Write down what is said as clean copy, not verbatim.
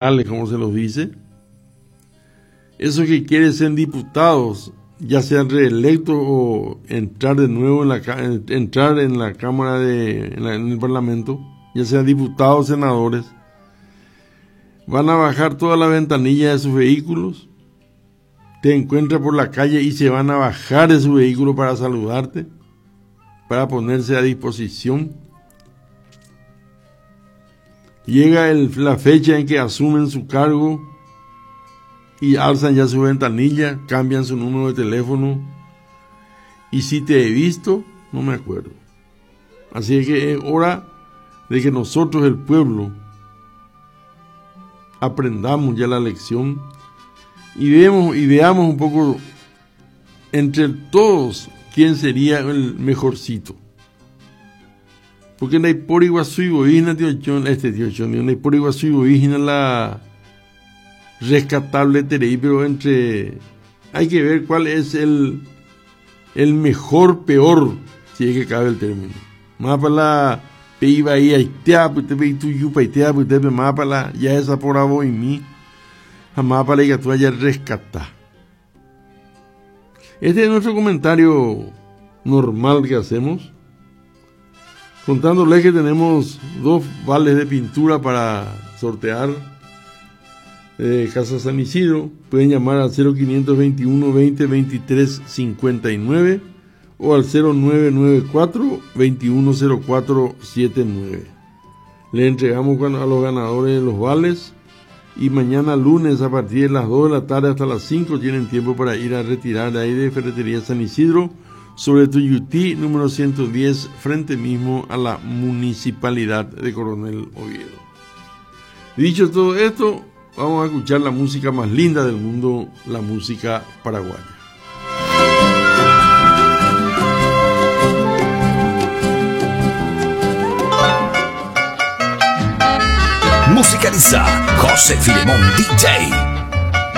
Como se los dice, esos que quieren ser diputados, ya sean reelectos o entrar de nuevo en la, entrar en la Cámara de, en, el Parlamento, ya sean diputados o senadores, van a bajar toda la ventanilla de sus vehículos, te encuentran por la calle y se van a bajar de su vehículo para saludarte, para ponerse a disposición. Llega la fecha en que asumen su cargo y alzan ya su ventanilla, cambian su número de teléfono. Y si te he visto, no me acuerdo. Así que es hora de que nosotros, el pueblo, aprendamos ya la lección y, vemos, y veamos un poco entre todos quién sería el mejorcito. Porque ndaipóri guasúi voi hína tio Chon, este tio Chon, digo, ndaipóri guasúi voi hína la rescatable terei, pero entre hay que ver cuál es el, el mejor peor, si es que cabe el término. Mávapa la pe ivai aitea apytépe itujupaite apytépe, mávapa la jahesaporavo'imi ha mávapa la ikatúva jarrescata. Este es nuestro comentario normal que hacemos, contándoles que tenemos dos vales de pintura para sortear de Casa San Isidro. Pueden llamar al 0521 20 23 59 o al 0994 210479. Le entregamos a los ganadores los vales y mañana lunes a partir de las 2 de la tarde hasta las 5 tienen tiempo para ir a retirar de ahí de Ferretería San Isidro sobre Tuyutí número 110 frente mismo a la Municipalidad de Coronel Oviedo. Dicho todo esto, vamos a escuchar la música más linda del mundo, la música paraguaya. Musicaliza José Filemón DJ.